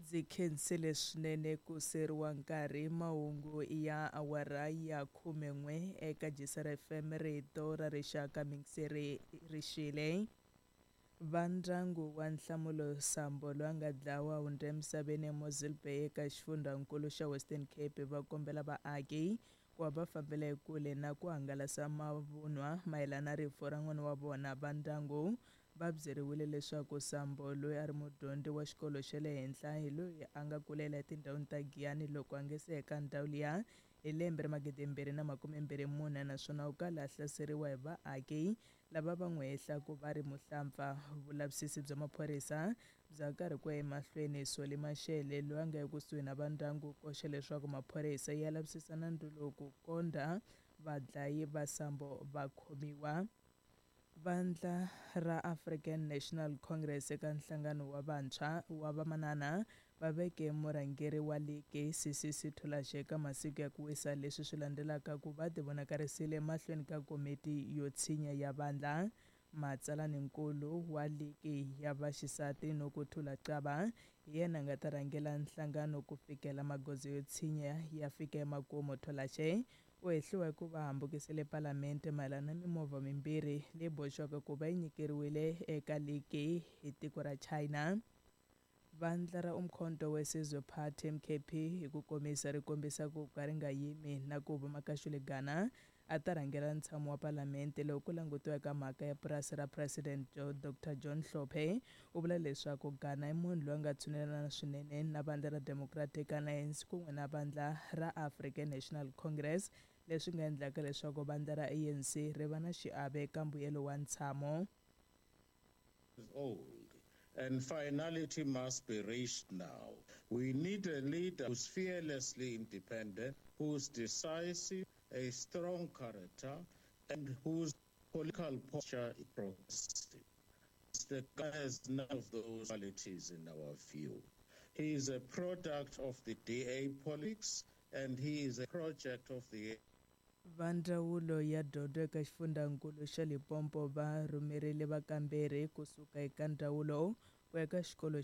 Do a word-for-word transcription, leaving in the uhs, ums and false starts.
Ndzi khensile swinene ku seriwa nkarhi. Mahungu ya awara ya khumen'we eka J S R F M, rito ra rixaka. Mingiseri rixile. Va ndyangu wa Nhlamulo Sambo, loyi a nga dlawa hundza emisaveni eMossel Bay eka xifundzankulu xa Western Cape, va kombela vaaki ku va va fambela ekule na ku hangalasa mavunwa mayelana na rifu ra n'wana wa vona. Va ndyangu va byeriwile leswaku Sambo, loyi a ri mudyondzi wa xikolo xa le henhla, hi loyi a nga kulela etindhawini ta Giyani loko a nge se eka ndhawu liya hi lembe ra magidimbirhi na makume mbirhi mune, naswona u kala a hlaseriwa hi vaaki lava va n'wi hehlaku va ri muhlampfa. Vulavisisi bya maphorisa bya karhi ku ya emahlweni. Soli Mashele, loyi a nga ekusuhi na va ndyangu, koxa leswaku maphorisa ya lavisisa nandzu lowu ku kondza vadlayi va Sambo va khomiwa. Vandla ra African National Congress eka nhlangano wa vantshwa wa vamanana va veke murhangeri wa ligi C C C Tolashe eka masiku ya ku wisa, leswi swi landzelaka ku va tivonakarisile mahlweni ka komiti yo tshinya ya vandla. Matsalaninkulu wa ligi ya vaxisati Nokuthula Qaba hi yena a nga ta rhangela nhlangano ku fikela magoza yo tshinya ya fika emakumu. Tolashe u hehliwa hi ku va hambukisile palamente mayelana na mimovha mimbirhi leyi boxiwaka ku va yi nyikeriwile eka ligi hi tiko ra China. Vandla ra Umkhonto weSizwe Party, M K P hi ku komisa, ri kombisa ku ka ri nga yimi na ku va Makashule Gana a ta rhangela ntshamo wa palamente loko ku langutiwa eka mhaka ya purasi ra President Doctor John Hlophe. U vula leswaku Gana i munhu loyi a nga tshunelana swinene na vandla ra Democratic Alliance kun'we na vandla ra African National Congress, leswi nga endlaka leswaku vandla ra A N C ri va na xiave eka mbuyelo wa ntshamo. Old and finality must be reached now. We need a leader who's fearlessly independent, who's decisive, a strong character, and whose political posture is progressive. The guy has none of those qualities in our view. He is a product of the D A politics and he is a project of the Va ndzawulo ya dyondzo eka xifundzankulu xa Limpopo va rhumerile vakamberi kusuka eka ndzawulo ku ya eka xikolo.